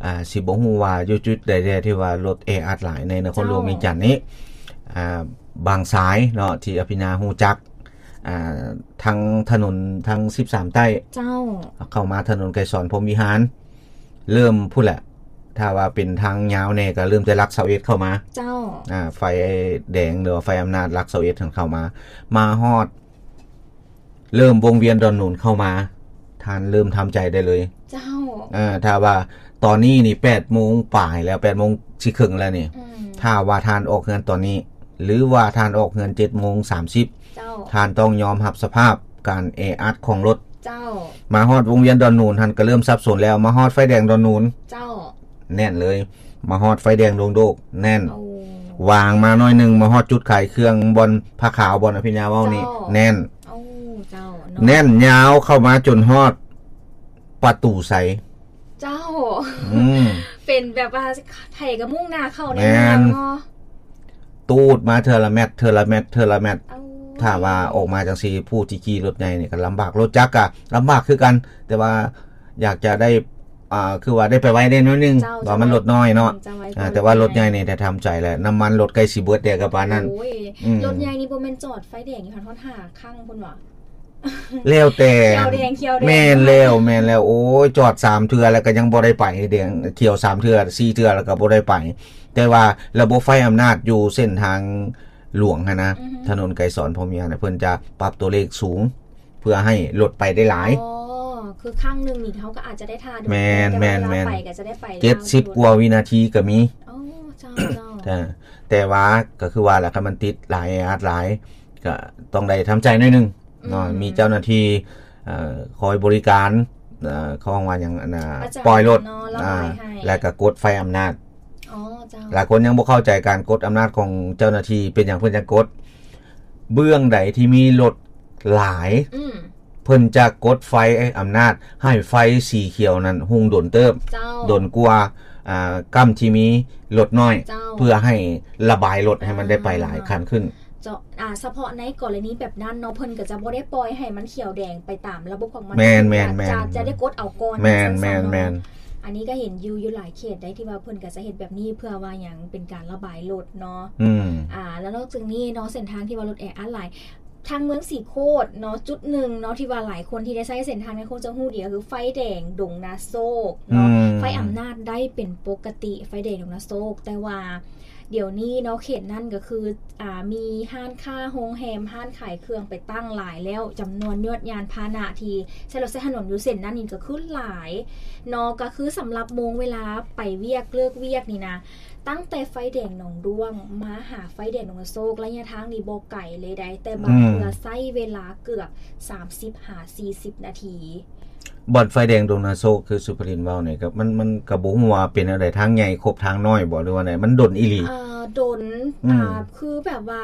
ອ່າ ຊິບໍ່ຮູ້ວ່າຢູ່ຈຸດໃດແດ່ທີ່ວ່າລົດແອອັດຫຼາຍໃນນະຄອນຫຼວງວຽງຈັນນີ້. ເຈົ້າ ອ່າ ບາງສາຍເນາະ ທີ່ອະພິນາຮູ້ຈັກ ອ່າ ທັງຖະໜົນທັງສິບສາມໃຕ້ ເຈົ້າ ເຂົ້າມາຖະໜົນໄກສອນ ພົມວິຫານ ເລີ່ມພຸ້ນແຫຼະ. ຖ້າວ່າເປັນທາງຍາວແດ່ກໍເລີ່ມແຕ່ຫຼັກຊາວເອັດເຂົ້າມາ ເຈົ້າ ອ່າ ໄຟແດງ ຫຼືວ່າໄຟອຳນາດຫຼັກຊາວເອັດຫັ້ນເຂົ້າມາ ມາຮອດ ເລີ່ມວົງວຽນດອນໜູນເຂົ້າມາ ທ່ານເລີ່ມທຳໃຈໄດ້ເລີຍ ເຈົ້າ. ເອີ ຖ້າວ່າຕອນນີ້ນີ້ແປດໂມງປາຍແລ້ວ ແປດໂມງຊິເຄິ່ງແລ້ວນີ້ ອືມ ຖ້າວ່າທ່ານອອກເຮືອນຕອນນີ້ ຫຼືວ່າທ່ານອອກເຮືອນເຈັດໂມງສາມສິບ ເຈົ້າ ທ່ານຕ້ອງຍອມຮັບສະພາບການແອອັດຂອງລົດ ເຈົ້າ. ມາຮອດວົງວຽນດອນໜູນຫັ້ນກໍເລີ່ມສັບສົນແລ້ວ ມາຮອດໄຟແດງດອນໜູນ ເຈົ້າ ແໜ້ນເລີຍ ມາຮອດໄຟແດງດົງໂດກ ແໜ້ນ ໂອ້ ຫວ່າງມາໜ້ອຍໜຶ່ງ ມາຮອດຈຸດຂາຍເຄື່ອງ ບ່ອນຜ້າຂາວ ບ່ອນອະພິນຍາເວົ້ານີ້ ເຈົ້າ ແໜ້ນ ໂອ້ ເຈົ້າເນາະ ແໜ້ນຍາວເຂົ້າມາຈົນຮອດປະຕູໄຊ ເຈົ້າ ອືມ ເປັນແບບວ່າໃຜກໍມຸ່ງໜ້າເຂົ້າໃນເມືອງເນາະ ແມ່ນ ຕູດມາເທື່ອລະແມັດ ເທື່ອລະແມັດ ເທື່ອລະແມັດ ເອົາ ຖ້າວ່າອອກມາຈັ່ງຊີ້ ຜູ້ທີ່ຂີ່ລົດໃຫຍ່ນີ້ກໍລຳບາກ ລົດຈັກກໍລຳບາກຄືກັນ ແຕ່ວ່າຢາກຈະໄດ້ ອ່າ ຄືວ່າໄດ້ໄປໄວແດ່ໜ້ອຍໜຶ່ງ ເຈົ້າ ວ່າມັນລົດນ້ອຍເນາະ ຈະໄວ ອ່າ ແຕ່ວ່າລົດໃຫຍ່ນີ້ໄດ້ທຳໃຈແລ້ວ ນ້ຳມັນລົດໃກ້ຊິເບິດແດ່ກໍປານນັ້ນ ໂອ້ຍ ອືມ ລົດໃຫຍ່ນີ້ບໍ່ແມ່ນຈອດໄຟແດງຢູ່ຫັ້ນຮອດຫ້າຄັ້ງພຸ້ນຫວາ? ແລ້ວແຕ່ ຂຽວແດງ ຂຽວແດງ ແມ່ນແລ້ວ ແມ່ນແລ້ວ ໂອ້ຍ ຈອດສາມເທື່ອແລ້ວກໍຍັງບໍ່ໄດ້ໄປ ແດງຂຽວສາມເທື່ອ ສີ່ເທື່ອແລ້ວກໍບໍ່ໄດ້ໄປ ແຕ່ວ່າລະບົບໄຟອຳນາດຢູ່ເສັ້ນທາງຫຼວງຫັ້ນນະ ອືຮຶ ຖະໜົນໄກສອນ ພົມວິຫານ ເພິ່ນຈະປັບຕົວເລກສູງ ເພື່ອໃຫ້ລົດໄປໄດ້ຫຼາຍ ອໍ ຄືຄັ້ງໜຶ່ງນີ້ເຮົາກໍອາດຈະໄດ້ຖ້າດົນ ແມ່ນ ແຕ່ວ່າເວລາໄປກໍຈະໄດ້ໄປ ເຈັດສິບກວ່າວິນາທີກໍມີ ອໍ ເຈົ້າ ເຈົ້າ ແຕ່ ແຕ່ວ່າກໍຄືວ່າລະ ຄັນມັນຕິດຫຼາຍ ແອອັດຫຼາຍ ກໍຕ້ອງໄດ້ທຳໃຈໜ້ອຍໜຶ່ງເນາະ ອືມ ມີເຈົ້າໜ້າທີ່ ເອີ ຄອຍບໍລິການ ເອີ ເຂົາເອີ້ນວ່າຫຍັງ ອັນນ່າ ປະຈຳ ປ່ອຍລົດ ເນາະ ລະບາຍໃຫ້ ອ່າ ແລ້ວກໍກົດໄຟອຳນາດ ອໍ ເຈົ້າ ຫຼາຍຄົນຍັງບໍ່ເຂົ້າໃຈການກົດອຳນາດຂອງເຈົ້າໜ້າທີ່ ເປັນຫຍັງເພິ່ນຈັ່ງກົດ ເບື້ອງໃດທີ່ມີລົດຫຼາຍ ອືມ ເພິ່ນຈະກົດໄຟອຳນາດໃຫ້ໄຟສີຂຽວນັ້ນຮຸ່ງດົນເຕີບ ເຈົ້າ ດົນກວ່າ ອ່າ ກ້ຳທີ່ມີລົດນ້ອຍ ເຈົ້າ ເພື່ອໃຫ້ລະບາຍລົດໃຫ້ມັນໄດ້ໄປຫຼາຍ ອ່າ ຄັນຂຶ້ນ ເຈົ້າ ອ່າ ສະເພາະໃນກໍລະນີແບບນັ້ນເນາະ ເພິ່ນກໍຈະບໍ່ໄດ້ປ່ອຍໃຫ້ມັນຂຽວແດງໄປຕາມລະບົບຂອງມັນ ແມ່ນໆໆ ຈະ ຈະໄດ້ກົດເອົາກ່ອນ ແມ່ນໆໆ ອັນນີ້ກໍເຫັນຢູ່ ຢູ່ຫຼາຍເຂດໃດທີ່ວ່າເພິ່ນກໍຈະເຮັດແບບນີ້ ເພື່ອວ່າຫຍັງ ເປັນການລະບາຍລົດເນາະ ອືມ ອ່າ ແລ້ວນອກຈາກນີ້ເນາະ ເສັ້ນທາງທີ່ວ່າລົດແອອັດຫຼາຍ ທາງເມືອງສີໂຄດເນາະ ຈຸດໜຶ່ງເນາະ ທີ່ວ່າຫຼາຍຄົນທີ່ໄດ້ໃຊ້ເສັ້ນທາງນັ້ນຄົງຈະຮູ້ດີ ກໍຄືໄຟແດງດົງນາໂຊກເນາະ ອືມ ໄຟອຳນາດໄດ້ເປັນປົກກະຕິ ໄຟແດງດົງນາໂຊກ ແຕ່ວ່າດຽວນີ້ເນາະ ເຂດນັ້ນກໍຄື ອ່າ ມີຮ້ານຄ້າ ໂຮງແຮມ ຮ້ານຂາຍເຄື່ອງໄປຕັ້ງຫຼາຍແລ້ວ ຈຳນວນຍອດຍານພາຫະນະທີ່ໃຊ້ລົດໃຊ້ຖະໜົນຢູ່ເສັ້ນນັ້ນນີ້ກໍຄືຫຼາຍເນາະ ກໍຄືສຳລັບໂມງເວລາໄປວຽກເລີກວຽກນີ້ນະ ຕັ້ງແຕ່ໄຟແດງໜອງດ້ວງມາຫາໄຟແດງດົງນາໂຊກ ໄລຍະທາງນີ້ບໍ່ໄກເລີຍໃດ ແຕ່ບາງເທື່ອ ອືມ ໃຊ້ເວລາເກືອບສາມສິບຫາສີ່ສິບນາທີ. ບ່ອນໄຟແດງດົງນາໂຊກ ຄືສຸພະລິນເວົ້ານີ້ ກໍມັນ ມັນກໍບໍ່ຮູ້ວ່າເປັນແນວໃດ ທາງໃຫຍ່ຄົບທາງນ້ອຍບໍ່ ຫຼືວ່າໃດ ມັນດົນອີ່ຫຼີ. ອ່າ ດົນ ອືມ ອ່າ ຄືແບບວ່າ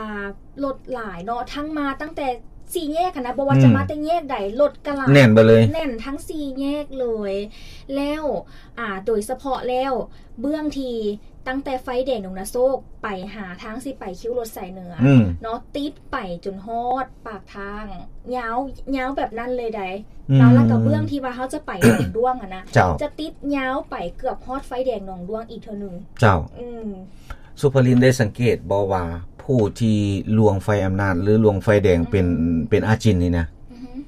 ລົດຫຼາຍເນາະ ທັງມາຕັ້ງແຕ່ສີ່ແຍກຫັ້ນນະ ບໍ່ວ່າຈະ ອືມ ມາແຕ່ແຍກໃດ ລົດກໍຫຼາຍ ແໜ້ນໄປເລີຍ ແໜ້ນທັງສີ່ແຍກເລີຍ ແລ້ວ ອ່າ ໂດຍສະເພາະແລ້ວ ເບື້ອງທີ່ຕັ້ງແຕ່ໄຟແດງດົງນາໂຊກໄປຫາທາງຊິໄປຄິວລົດສາຍເໜືອ ອືມ ເນາະ ຕິດໄປຈົນຮອດປາກທາງ ຍາວ ຍາວແບບນັ້ນເລີຍໃດ ອືມ ແລ້ວ ແລ້ວກໍເບື້ອງທີ່ວ່າເຮົາຈະໄປໜອງດ້ວງຫັ້ນນະ ເຈົ້າ ຈະຕິດຍາວໄປເກືອບຮອດໄຟແດງໜອງດ້ວງອີກເທື່ອໜຶ່ງ ເຈົ້າ ອືມ ສຸພະລິນໄດ້ສັງເກດບໍ່ວ່າ ພ ຜູ້ທີ່ລ່ວງໄຟອຳນາດ ຫຼື ລ່ວງໄຟແດງເປັນ ອືມ ເປັນອາຈິນນີ້ນະ ອືຮຶ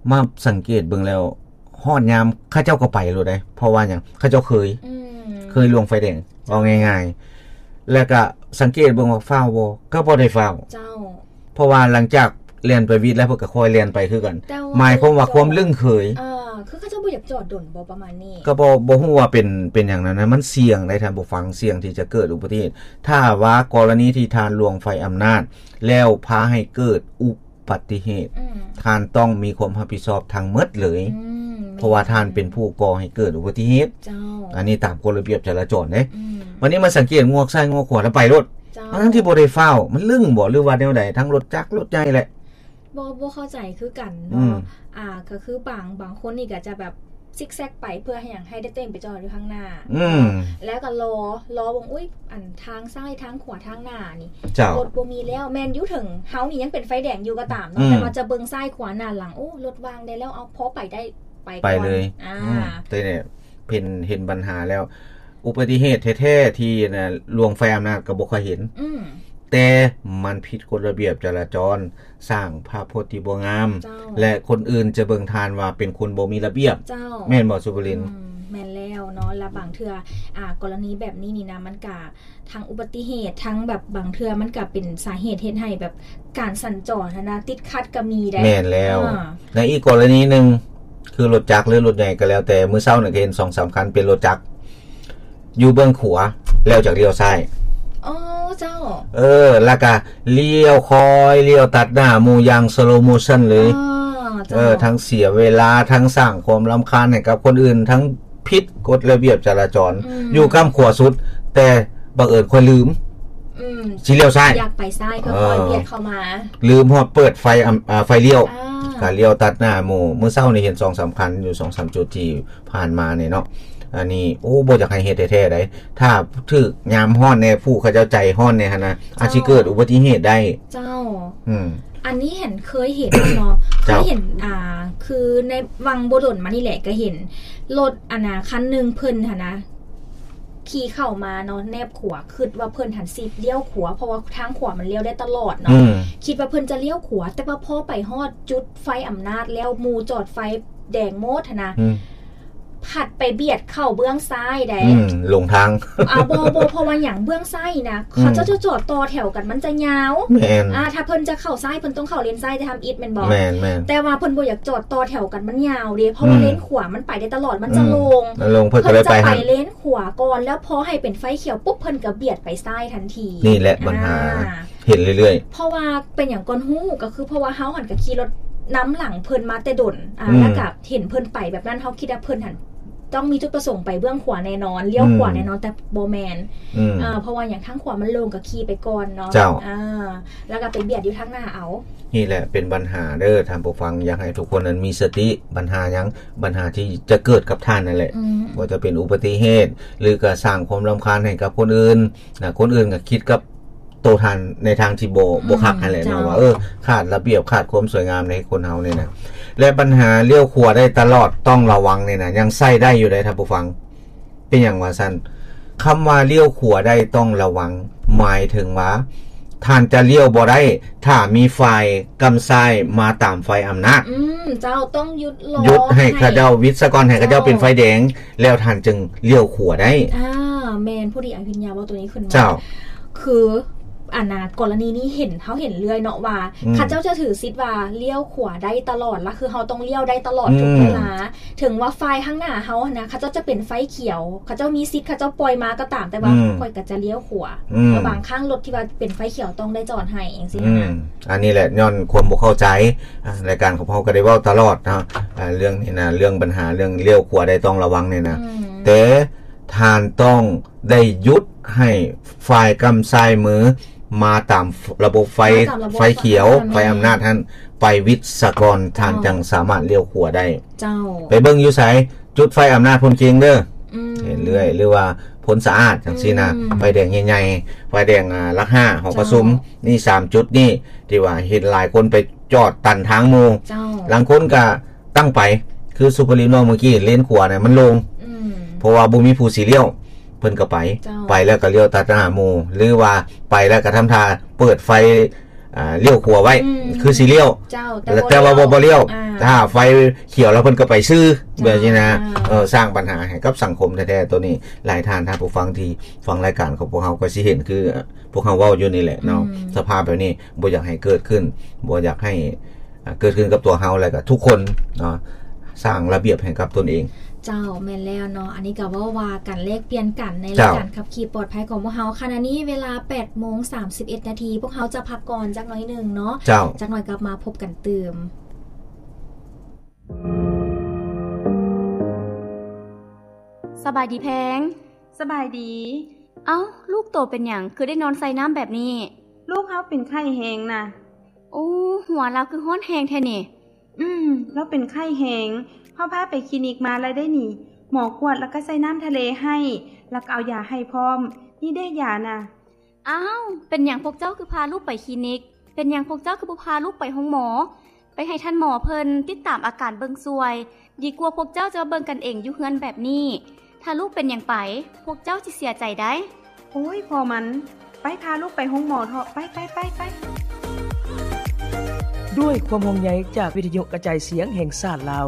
ມາສັງເກດເບິ່ງແລ້ວ ຮອດຍາມເຂົາເຈົ້າກໍໄປໂລດເດ້. ເພາະວ່າຫຍັງ? ເຂົາເຈົ້າເຄີຍ ອືມ ເຄີຍລ່ວງໄຟແດງ ເຈົ້າ ເວົ້າງ່າຍໆ ແລ້ວກໍສັງເກດເບິ່ງວ່າຟ້າວບໍ່? ກໍບໍ່ໄດ້ຟ້າວ ເຈົ້າ. ເພາະວ່າຫຼັງຈາກແລ່ນໄປວິດແລ້ວ ເພິ່ນກໍຄ່ອຍແລ່ນໄປຄືກັນ ແຕ່ວ່າ ໝາຍຄວາມວ່າຄວາມລຶ້ງເຄີຍ ອ່າ ຄືເຂົາເຈົ້າບໍ່ຢາກຈອດດົນບໍ່ ປະມານນີ້ ກໍບໍ່ ບໍ່ຮູ້ວ່າເປັນ ເປັນຫຍັງນັ້ນນະ ມັນສ່ຽງໄດ໋ທ່ານຜູ້ຟັງ ສ່ຽງທີ່ຈະເກີດອຸບັດຕິເຫດ. ຖ້າວ່າກໍລະນີທີ່ທ່ານລ່ວງໄຟອຳນາດ ແລ້ວພາໃຫ້ເກີດອຸບັດຕິເຫດ ອືມ ທ່ານຕ້ອງມີຄວາມຮັບຜິດຊອບທັງໝົດເລີຍ ອືມ ເພາະວ່າທ່ານເປັນຜູ້ກໍ່ໃຫ້ເກີດອຸບັດຕິເຫດ ເຈົ້າ ອັນນີ້ຕາມກົດລະບຽບຈະລາຈອນເດ້ ອືມ ບັດນີ້ມາສັງເກດງວກຊ້າຍງວກຂວາແລ້ວໄປໂລດ ເຈົ້າ ທັງໆທີ່ບໍ່ໄດ້ຟ້າວ ມັນລຶ້ງບໍ່ ຫຼືວ່າແນວໃດ? ທັງລົດຈັກລົດໃຫຍ່ແຫຼະ ບໍ່ ບໍ່ເຂົ້າໃຈຄືກັນເນາະ ອືມ ອ່າ ກໍຄືບາງ ບາງຄົນນີ້ກໍຈະແບບຊິກແຊັກໄປ ເພື່ອໃຫ້ຫຍັງ? ໃຫ້ໄດ້ຕົວເອງໄປຈອດຢູ່ທາງໜ້າ ອືມ ແລ້ວກໍລໍ ລໍເບິ່ງ ອຸ້ຍ ອັນທາງຊ້າຍທາງຂວາທາງໜ້ານີ້ ເຈົ້າ ລົດບໍ່ມີແລ້ວ ແມ່ນຢູ່ເຖິງເຮົານີ້ຍັງເປັນໄຟແດງຢູ່ກໍຕາມເນາະ ອືມ ແຕ່ວ່າຈະເບິ່ງຊ້າຍຂວາໜ້າຫຼັງ ໂອ້ ລົດວ່າງໄດ້ແລ້ວ ເອົາ ພໍໄປໄດ້ ໄປ ໄປເລີຍ ອ່າ ອືມ ແຕ່ນີ້ເຫັນ ເຫັນບັນຫາແລ້ວ ອຸບັດຕິເຫດແທ້ໆ ທີ່ນະ ລ່ວງໄຟອຳນາດກໍບໍ່ຄ່ອຍເຫັນ ອືມ ແຕ່ມັນຜິດກົດລະບຽບຈະລາຈອນ ສ້າງພາບພົດທີ່ບໍ່ງາມ ເຈົ້າ ແລະ ຄົນອື່ນຈະເບິ່ງທ່ານວ່າເປັນຄົນບໍ່ມີລະບຽບ ເຈົ້າ ແມ່ນບໍ່ ສຸພາລິນ? ອືມ ແມ່ນແລ້ວເນາະ ແລະ ບາງເທື່ອ ອ່າ ກໍລະນີແບບນີ້ນີ້ນະ ມັນກະທັງອຸບັດຕິເຫດ ທັງແບບບາງເທື່ອມັນກະເປັນສາເຫດເຮັດໃຫ້ແບບການສັນຈອນຫັ້ນນະ ຕິດຂັດກໍມີໄດ໋ ແມ່ນແລ້ວ ອ່າ ໃນອີກກໍລະນີໜຶ່ງ ຄືລົດຈັກ ຫຼື ລົດໃຫຍ່ກໍແລ້ວແຕ່ ມື້ເຊົ້ານີ້ກໍເຫັນສອງສາມຄັນເປັນລົດຈັກ ຢູ່ເບື້ອງຂວາ ແລ້ວຈະລ້ຽວຊ້າຍ ອໍ ເຈົ້າ ເອີ ແລ້ວກະລ້ຽວ ຄ່ອຍລ້ຽວຕັດໜ້າໝູ່ຢ່າງ slow motion ເລີຍ ອໍ ເຈົ້າ ເອີ ທັງເສຍເວລາ ທັງສ້າງຄວາມລຳຄານໃຫ້ກັບຄົນອື່ນ ທັງຜິດກົດລະບຽບຈະລາຈອນ ອືມ ຢູ່ກ້ຳຂວາສຸດ ແຕ່ບັງເອີນຂ້ອຍລືມ ອືມ ຊິລ້ຽວຊ້າຍ ຢາກໄປຊ້າຍ ເອີ ຄ່ອຍໆບຽດເຂົ້າມາ ລືມຮອດເປີດໄຟ ອຳ ອ່າ ໄຟລ້ຽວ ອ່າ ກະລ້ຽວຕັດໜ້າໝູ່ ມື້ເຊົ້ານີ້ເຫັນສອງສາມຄັນ ຢູ່ສອງສາມຈຸດທີ່ ຜ່ານມານີ້ເນາະ ອັນນີ້ ໂອ້ ບໍ່ຢາກໃຫ້ເຮັດແທ້ໆໃດ໋ ຖ້າຖືກຍາມຮ້ອນແດ່ ຜູ້ເຂົາເຈົ້າໃຈຮ້ອນແດ່ຫັ້ນນະ ເຈົ້າ ອາດຊິເກີດອຸບັດຕິເຫດໄດ້ ເຈົ້າ ອືມ ອັນນີ້ເຫັນ ເຄີຍເຫັນເນາະ ເຈົ້າ ເຄີຍເຫັນ ອ່າ ຄືໃນຫວ່າງບໍ່ດົນມານີ້ແຫຼະ ກໍເຫັນລົດ ອັນນະ ຄັນໜຶ່ງເພິ່ນຫັ້ນນະ ຂີ່ເຂົ້າມາເນາະ ແນບຂວາ ຄິດວ່າເພິ່ນຫັ້ນຊິລ້ຽວຂວາ ເພາະວ່າທາງຂວາມັນລ້ຽວໄດ້ຕະຫຼອດເນາະ ອືມ ຄິດວ່າເພິ່ນຈະລ້ຽວຂວາ ແຕ່ວ່າພໍໄປຮອດຈຸດໄຟອຳນາດແລ້ວ ໝູ່ຈອດໄຟ ແດງໝົດຫັ້ນນະ ອືມ ພັດໄປບຽດເຂົ້າເບື້ອງຊ້າຍໃດ໋ ອືມ ຫຼົງທາງ ອ່າ ບໍ່ ບໍ່ ເພາະວ່າຫຍັງ? ເບື້ອງຊ້າຍນະ ອືມ ເຂົາເຈົ້າຈະຈອດຕໍ່ແຖວກັນ ມັນຈະຍາວ ແມ່ນ ອ່າ ຖ້າເພິ່ນຈະເຂົ້າຊ້າຍ ເພິ່ນຕ້ອງເຂົ້າເລນຊ້າຍ ແຕ່ທຳອິດແມ່ນບໍ່? ແມ່ນໆ ແຕ່ວ່າເພິ່ນບໍ່ຢາກຈອດຕໍ່ແຖວກັນ ມັນຍາວເດ້ ເພາະວ່າ ອືມ ເລນຂວາມັນໄປໄດ້ຕະຫຼອດ ມັນຈະ ອືມ ໂລ່ງ ໂລ່ງ ເພິ່ນກໍເລີຍໄປ ເພິ່ນຈະໄປຫັ້ນ ເລນຂວາກ່ອນ ແລ້ວພໍໃຫ້ເປັນໄຟຂຽວປຸບ ເພິ່ນກໍບຽດໄປຊ້າຍທັນທີ ນີ້ແຫຼະບັນຫາ ອ່າ ເຫັນເລື້ອຍໆ ເພາະວ່າເປັນຫຍັງກ່ອນຮູ້ ກໍຄືເພາະວ່າເຮົາຫັ້ນກໍຂີ່ລົດນຳຫຼັງເພິ່ນມາແຕ່ດົນ ອ່າ ອືມ ແລ້ວກໍເຫັນເພິ່ນໄປແບບນັ້ນ ເຮົາຄິດວ່າເພິ່ນຫັ້ນຕ້ອງມີຈຸດປະສົງໄປເບື້ອງຂວາແນ່ນອນ ລ້ຽວຂວາ ອືມ ແນ່ນອນ ແຕ່ບໍ່ແມ່ນ ອືມ ເອີ ເພາະວ່າຫຍັງ ທາງຂວາມັນໂລ່ງ ກໍຂີ່ໄປກ່ອນເນາະ ເຈົ້າ ອ່າ ແລ້ວກໍໄປບຽດຢູ່ທາງໜ້າເອົາ ນີ້ແຫຼະເປັນບັນຫາເດີທ່ານຜູ້ຟັງ ຢາກໃຫ້ທຸກຄົນນັ້ນມີສະຕິ ບັນຫາຫຍັງ ບັນຫາທີ່ຈະເກີດກັບທ່ານນັ້ນແຫຼະ ອືມ ບໍ່ວ່າຈະເປັນອຸບັດຕິເຫດ ຫຼືກໍສ້າງຄວາມລຳຄານໃຫ້ກັບຄົນອື່ນນະ ຄົນອື່ນກໍຄິດກັບ ໂຕທ່ານໃນທາງທີ່ບໍ່ ອືມ ບໍ່ຄັກຫັ້ນແຫຼະເນາະ ເຈົ້າ ວ່າ ເອີ ຂາດລະບຽບ ຂາດຄວາມສວຍງາມໃນຄົນເຮົານີ້ນະ ແລະ ບັນຫາລ້ຽວຂວາໄດ້ຕະຫຼອດ ຕ້ອງລະວັງນີ້ນະ ຍັງໃຊ້ໄດ້ຢູ່ເດ້ທ່ານຜູ້ຟັງ ເປັນຫຍັງວ່າຊັ້ນ? ຄຳວ່າລ້ຽວຂວາໄດ້ຕ້ອງລະວັງ ໝາຍເຖິງວ່າ ທ່ານຈະລ້ຽວບໍ່ໄດ້ ຖ້າມີຝ່າຍກ້ຳຊ້າຍມາຕາມໄຟອຳນາດ ອືມ ເຈົ້າ ຕ້ອງຢຸດລໍ ຢຸດໃຫ້ເຂົາເຈົ້າ ໃຫ້ ຫວິດສະກ່ອນ ໃຫ້ເຂົາເຈົ້າ ເຈົ້າ ເປັນໄຟແດງ ແລ້ວທ່ານຈຶ່ງລ້ຽວຂວາໄດ້ ອ່າ ແມ່ນ ພໍດີອາວິນຍາເວົ້າໂຕນີ້ຂຶ້ນມາ ເຈົ້າ ຄື ອັນນະ ກໍລະນີນີ້ເຫັນ ເຮົາເຫັນເລື້ອຍເນາະວ່າ ອືມ ເຂົາເຈົ້າຈະຖືສິດວ່າລ້ຽວຂວາໄດ້ຕະຫຼອດລະ ຄືເຮົາຕ້ອງລ້ຽວໄດ້ຕະຫຼອດ ອືມ ທຸກເວລາ ເຖິງວ່າຝ່າຍທາງໜ້າເຮົາຫັ້ນນະ ເຂົາເຈົ້າຈະເປັນໄຟຂຽວ ເຂົາເຈົ້າມີສິດ ເຂົາເຈົ້າປ່ອຍມາກໍຕາມ ແຕ່ວ່າ ອືມ ຂ້ອຍກໍຈະລ້ຽວຂວາ ອືມ ແລ້ວບາງຄັ້ງລົດທີ່ວ່າເປັນໄຟຂຽວຕ້ອງໄດ້ຈອດໃຫ້ ຈັ່ງຊີ້ ອືມ ນະ ອັນນີ້ແຫຼະ ຍ້ອນຄວາມບໍ່ເຂົ້າໃຈ ອ່າ ລາຍການຂອງເຮົາກໍໄດ້ເວົ້າຕະຫຼອດເນາະ ອ່າ ເລື່ອງນີ້ນະ ເລື່ອງບັນຫາ ເລື່ອງລ້ຽວຂວາໄດ້ຕ້ອງລະວັງນີ້ນະ ອືມ ແຕ່ທ່ານຕ້ອງ ໄດ້ຢຸດໃຫ້ຝ່າຍກ້ຳຊ້າຍມືມາຕາມລະບົບໄຟ ມາຕາມລະບົບ ໄຟຂຽວ ໄຟອຳນາດ ໄຟອຳນາດຫັ້ນ ໄປຫວິດສະກ່ອນ ເຈົ້າ ທ່ານຈັ່ງສາມາດລ້ຽວຂວາໄດ້ ເຈົ້າ ໄປເບິ່ງຢູ່ໃສ? ຈຸດໄຟອຳນາດພຸ້ນເຄງເດີ ອືມ ເຫັນເລື້ອຍ ຫຼືວ່າໂພນສະອາດຈັ່ງຊີ້ນະ ອືມ ໄຟແດງໃຫຍ່ໆ ໄຟແດງ ອ່າ ຫຼັກຫ້າ ຫໍປະຊຸມ ເຈົ້າ ນີ້ ສາມຈຸດນີ້ ທີ່ວ່າເຫັນຫຼາຍຄົນໄປຈອດຕັນທາງໝູ່ ເຈົ້າ ລາງຄົນກະ ຕັ້ງໄປ ຄືສຸພາລິນເວົ້າມື້ກີ້ ເລນຂວານະມັນໂລ່ງ ອືມ ເພາະວ່າບໍ່ມີຜູ້ຊິລ້ຽວ ເພິ່ນກໍໄປ ເຈົ້າ ໄປແລ້ວກໍລ້ຽວຕັດໜ້າໝູ່ ຫຼືວ່າໄປແລ້ວກໍທຳທ່າເປີດໄຟ ອ່າ ລ້ຽວຂວາໄວ້ ອືມ ຄືຊິລ້ຽວ ເຈົ້າ ແຕ່ ແຕ່ວ່າບໍ່ ບໍ່ລ້ຽວ ອ່າ ຖ້າໄຟຂຽວແລ້ວເພິ່ນກໍໄປຊື່ ເຈົ້າ ແບບນີ້ນະ ອ່າ ເອີ ສ້າງບັນຫາໃຫ້ກັບສັງຄົມແທ້ໆ ໂຕນີ້ຫຼາຍທ່ານ ທ່ານຜູ້ຟັງທີ່ຟັງລາຍການຂອງພວກເຮົາກໍຊິເຫັນ ຄືພວກເຮົາເວົ້າຢູ່ນີ້ແຫຼະເນາະ ອືມ ສະພາບແບບນີ້ບໍ່ຢາກໃຫ້ເກີດຂຶ້ນ ບໍ່ຢາກໃຫ້ ອ່າ ເກີດຂຶ້ນກັບຕົວເຮົາ ແລະກໍທຸກຄົນເນາະ ສ້າງລະບຽບໃຫ້ກັບຕົນເອງ. ເຈົ້າ ແມ່ນແລ້ວເນາະ ອັນນີ້ກໍເວົ້າວ່າກັນ ແລກປ່ຽນກັນໃນລາຍການ ເຈົ້າ ຂັບຂີ່ປອດໄພຂອງພວກເຮົາ. ຂະນະນີ້ເວລາແປດໂມງສາມສິບເອັດນາທີ ພວກເຮົາຈະພັກກ່ອນຈັກໜ້ອຍໜຶ່ງເນາະ ເຈົ້າ ຈັກໜ້ອຍກັບມາພົບກັນຕື່ມ. ສະບາຍດີແພງ. ສະບາຍດີ. ເອົ້າ ລູກໂຕເປັນຫຍັງ ຄືໄດ້ນອນໃສ່ນ້ຳແບບນີ້? ລູກເຮົາເປັນໄຂ້ແຮງນະ. ໂອ້ ຫົວລາວຄືຮ້ອນແຮງແທ້ນີ້. ອືມ ລາວເປັນໄຂ້ແຮງ ເຮົາພາໄປຄລີນິກມາແລ້ວເດ້ນີ້ ໝໍກວດແລ້ວກໍໃສ່ນ້ຳທະເລໃຫ້ ແລ້ວກໍເອົາຢາໃຫ້ພ້ອມ ນີ້ເດ້ຢານະ. ອ້າວ ເປັນຫຍັງພວກເຈົ້າຄືພາລູກໄປຄລີນິກ? ເປັນຫຍັງພວກເຈົ້າຄືບໍ່ພາລູກໄປໂຮງໝໍ? ໄປໃຫ້ທ່ານໝໍເພິ່ນຕິດຕາມອາການເບິ່ງຊ່ວຍ ດີກວ່າພວກເຈົ້າຈະມາເບິ່ງກັນເອງຢູ່ເຮືອນແບບນີ້. ຖ້າລູກເປັນຫຍັງໄປ ພວກເຈົ້າຊິເສຍໃຈໄດ໋. ໂອ້ຍ ພໍມັນ ໄປ ພາລູກໄປໂຮງໝໍເຖາະ ໄປ ໄປ ໄປ ໄປ. ດ້ວຍຄວາມຫ່ວງໃຍຈາກວິທະຍຸກະຈາຍສຽງແຫ່ງຊາດລາວ.